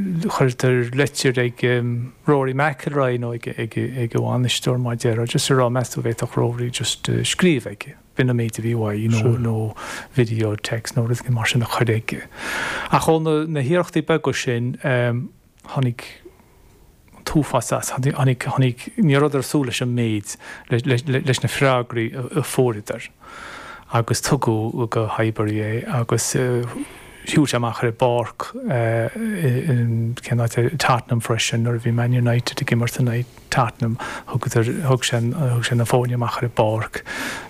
Chuireadar leitir ag Rory McIlroy nó ag a bhainisteoir mar a déarfá, just a rá meas tú an bhféadfadh Rory just scríobh aige, b'in an méid a bhí uaidh, you know, nó video text nó rud éigin mar sin a chur aige. Ach ó na hiarrachtaí beaga sin, tháinig an t-uafás as, tháinig, tháinig, ní rabhadar ag súil leis an méid, leis na freagraí a fuaireadar agus tugadh go Highbury é agus shiúil sé amach ar an bpáirc in, cén áit é, Tottenham freisin nuair a bhí Man United ag imirt in aghaidh Tottenham, thugadar, thug sé, thug sé na foirne amach ar an bpáirc,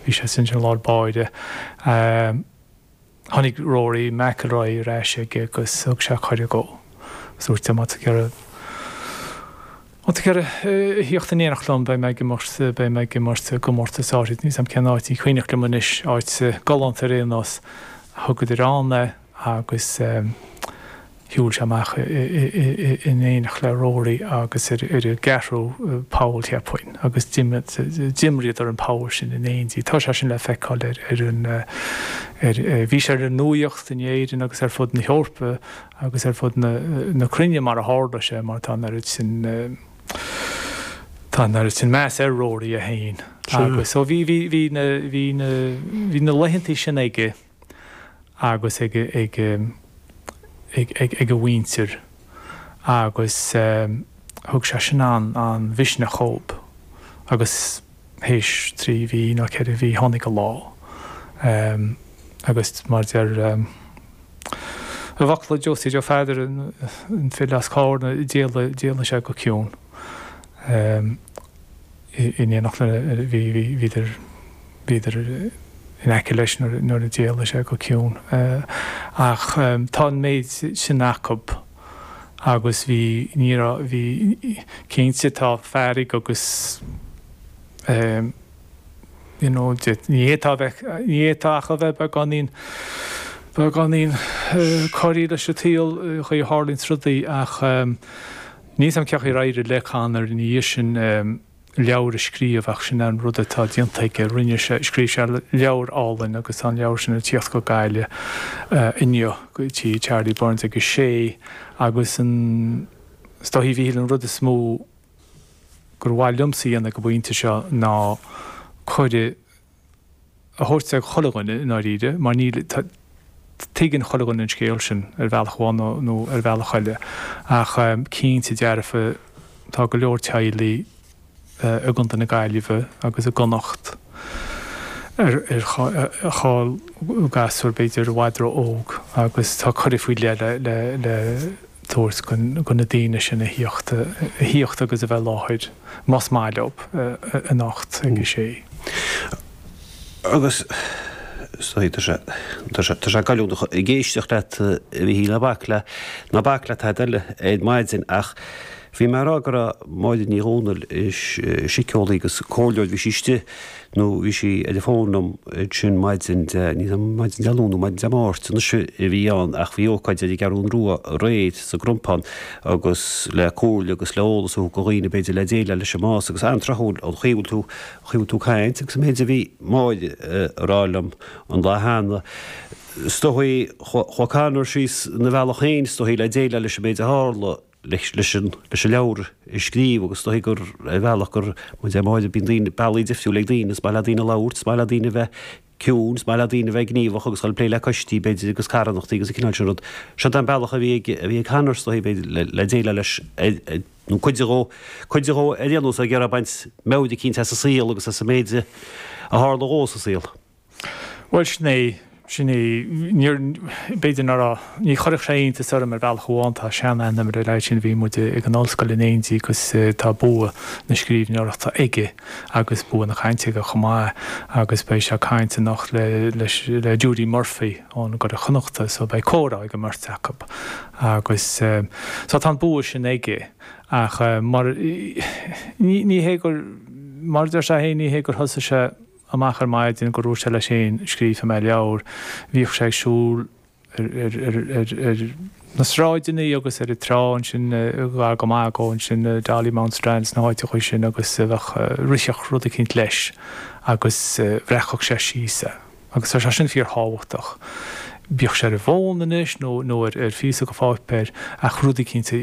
bhí sé ansin i lár báire. Tháinig Rory McIlroy ar ais aige agus thug sé cuireadh dhó. Agus dúirt sé, má tá tú ag iarraidh, má tá tú ag iarraidh a thíocht in éineacht liom, beidh mé ag imirt, beidh mé ag imirt i gcomórtas áirid, níl 's a'm cén áit, ní cuimhneach liom anois, áit galánta ar aon nós. Thugadar ann é agus. Shiúil sé amach in éineacht le Rory agus ar an gceathrú poll, cheapfainn, agus d'imríodar an poll sin in éindí. Tá sé sin le feiceáil ar an, ar, bhí sé ar an nuaíocht in Éirinn agus ar fud na hEorpa agus ar fud na cruinne mar a tharla sé mar tá an oiread sin, tá an oiread sin meas ar Rory é féin. Agus so bhí, bhí, bhí na, bhí na, bhí na laethantaí sin aige. agus ag a mhuintir agus thug sé sin an-mhisneach dhób agus théis 3 mhí nó 4 mhí tháinig an lá agus mar deir i bhfocla Josie Joe Pheadair an file as Cárna d'éalaigh sé go ciúin. In éineacht le, bhí, bhí, bhíodar, bhíodar in aice leis nuair a d'éalaigh sé go ciúin. Ach tá an méid sin acub agus bhí, ní raibh, bhí, cinnte tá fearg agus you know, ní fhéadfá a bheith, ní fhéadfá ach a bheith beagáinín, beagáinín corraithe leis an tsaol, an chaoi a tharlaíonns rudaí ach Níl 's a'm cén chaoi ar éirigh le Conor ina dhiaidh sin leabhar a scríobh ach sin an rud atá déanta aige. Rinne sé, scríobh sé leabhar álainn agus tá an leabhar sin ag tíocht go Gaillimh inniu go tigh Charlie Byrne's ag a sé agus an, is dóichí a Mhíchíl an rud is mó gur mhaith liomsa a dhéanamh ag an bpointe seo ná cuireadh a thabhairt ag chuile dhuine i ndáiríre, mar níl, tuigeann chuile dhuine an scéal sin ar bhealach amháin nó ar bhealach eile. Ach cinnte dearfa tá go leor teaghlaigh i gContae na Gaillimhe agus i gConnacht ar a chaill gasúr b'fhéidir i bhfad ró-óg agus tá cuireadh faoi leith le tabhairt do na daoine sin a thíocht a thíocht agus a bheith i láthair. más maith leo, anocht ag a sé. Agus is dóigh, tá sé, tá sé, tá sé goilliúnach ag éisteacht leat, a Mhíchíl, ná bac le, ná bac le tada eile ar maidin ach bhí mé ag rá go raibh Máire Ní Dhomhnaill, síceolaí agus comhairleoir, bhí sí istigh nó bhí sí ar an bhfón liom ansin maidin Dé, ní maidin Dé Luain nó maidin Dé Máirt anois a bhí ann ach bhí ócáid ar an gCeathrún Rua aréir sa gCrompán agus le comhairle agus le eolas a thabhairt do dhaoine b'fhéidir le déileáil leis an mbás agus an-tráthúil an chaoi a bhfuil tú, an chaoi a bhfuil tú ag caint agus an méid a bhí Máire a rá liom an lá cheana. Is dóigh, chuaigh Conor síos ina bhealach féin is dóigh le déileáil leis an méid a tharla. leis leis an leis an leabhar a scríobh agus is dóigh gur ar bhealach gur mar a deir Máire bíonn daoine bealaí difriúil ag daoine is maith le daoine labhairt is maith le daoine a bheith ciúin is maith le daoine a bheith gníomhach agus dul ag plé le coistí b'fhéidir agus carthanachtaí agus an cineál sin rud. Seo é an bealach a bhí ag a bhí ag Conor is dóigh b'fhéidir le le déileáil leis nó cuid dhó cuid dhó ar aon nós ag iarraidh baint meabhair eicínt as an saol agus as an méid a tharla dhó sa saol. Bhuel, sin é, sin é. Níor, b'fhéidir ná raibh, ní chuirfeadh sé iontas orm ar bhealach amháin, tá sean-aithne agam ar an leaid sin, bhí muid ag an ollscoil in éindí agus tá bua na scríbhneoireachta aige agus bua na cainte aige chomh maith agus beidh sé ag caint anocht le, leis, le Judy Murphy ón gCuradh Chonnachta so beidh comhrá ag an mbeirt acu agus so tá an bua sin aige ach mar, ní, ní hé gur, mar a deir sé féin, ní hé gur thosaigh sé amach ar maidin gur dhúirt sé leis féin, scríobhfaidh mé leabhar. Bhíodh sé ag siúl ar na sráideanna agus ar an trá ansin gar go maith dhó ansin, Dollymount Strand sna háiteacha sin agus bheadh, rithfeadh rud eicínt leis agus bhreacfadh sé síos é. Agus tá sé sin fíorthábhachtach. Bíodh sé ar an bhfón anois nó ar phíosa de pháipéar ach rud eicínt a.